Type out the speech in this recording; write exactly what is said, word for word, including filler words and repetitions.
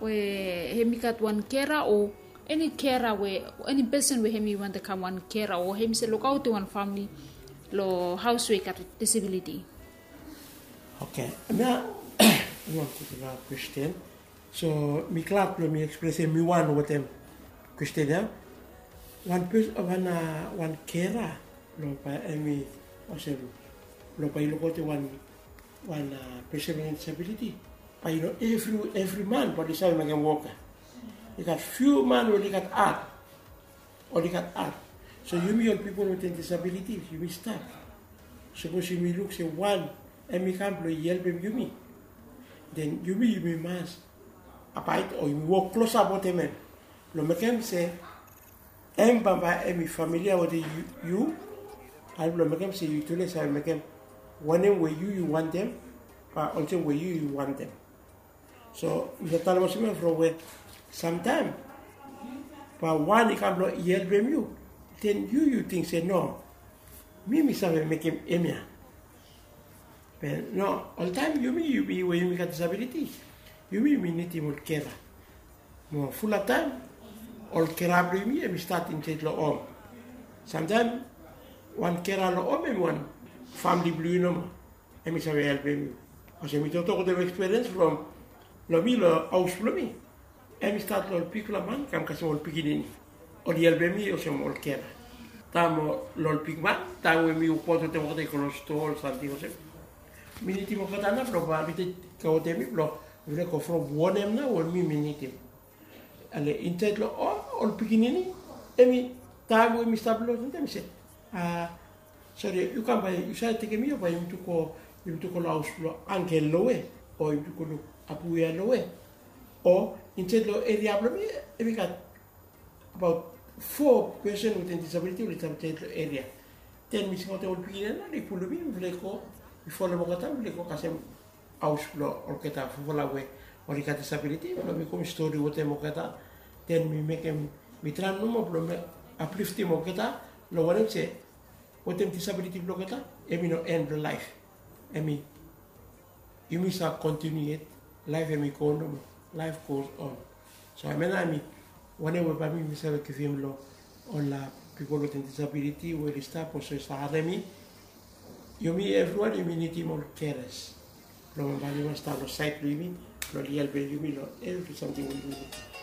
We hem i gat wan kera o eni kera we eni pesen we hem i wantem kam wan kera o hem i se lukaotem wan famili long haos we i gat disabiliti. Oke, nao mi wantem kwestin. So mi glad blong mi ekspresem mi wan wetem kwestin ya. Wan pes wan wan kera long bae hem i olsem long bae i lukaotem wan wan pesen we i gat disabiliti. Bae i no evri evri man bae oli save mekem wok ya. I gat fiu man we oli gat at oli gat at. So yumi ol pipol wetem disabiliti yumi stap. Sapos yumi luk se wan hem i kam blong i helpem yumi, den yumi yumi mas abaet o yumi wok klosap wetem hem blong mekem se hem bambae hem i familia wetem yu. Hem blong mekem se yu tule save mekem wanem we yu yu wantem, bae olsem we yu yu wantem. So mi save talem olsem ya from we samtaem bae wan i kam blong i helpem yu, den yu yu ting se no, mi mi save mekem hemia. Be no, oltaem yumi yumi we yumi gat disabiliti, yumi yumi nidim ol kera. Mo fulap taem ol kera blong yumi hem i stat insaed long hom. Samtaem wan kera long hom hem i wan famili blong yu nomo. Hem i save helpem yu. Olsem mi toktok wetem ekspiriens from long mi long haos blong mi. Hem i stat long ol bigfala man kam kasem ol pikinini. Oli helpem mi olsem ol kera. Taem long ol bigman taem we mi wokbaot wetem olgeta i go long stoa ol samting olsem, mi nidim olgeta nao blong bae oli tekem kea wetem mi blong mifala i go from wanem nao we mi mi nidim. Ale insaed long hom ol pikinini hem i taem we mi stap long olsem taem i se, a sori, yu kam bae yu save tekem mi o bae yumi tu go, yumi tu go long haos blong angel lowe, o yumi tu go luk abuya lowe. O insaed long eria blong mi hem i gat abaot fo pesen wetem disabiliti oli stap insaed long eria. Den mi singaotem ol pikinini ya nao oli pulum mi, mifala i go, mi folem olgeta, mifala i go kasem haos blong olgeta fofala we oli gat disabiliti blong mi go mi stori wetem olgeta. Den mi mekem, mi traem nomo blong mi apliftem olgeta long wanem se wetem disabiliti blong olgeta hem i no en blong laef. Hem i, yumi save kontiniu yet. Laef hem i go nomo. Laef goes on. So hemia nao hem i wanem we bae mi mi save givim long ol pipol wetem disabiliti we oli stap olsem oli save harem mi. Yumi evriwan yumi nidim ol keras blong bae oli mas stap long saed blong yumi blong oli helpem yumi long evri samting we yumi nidim.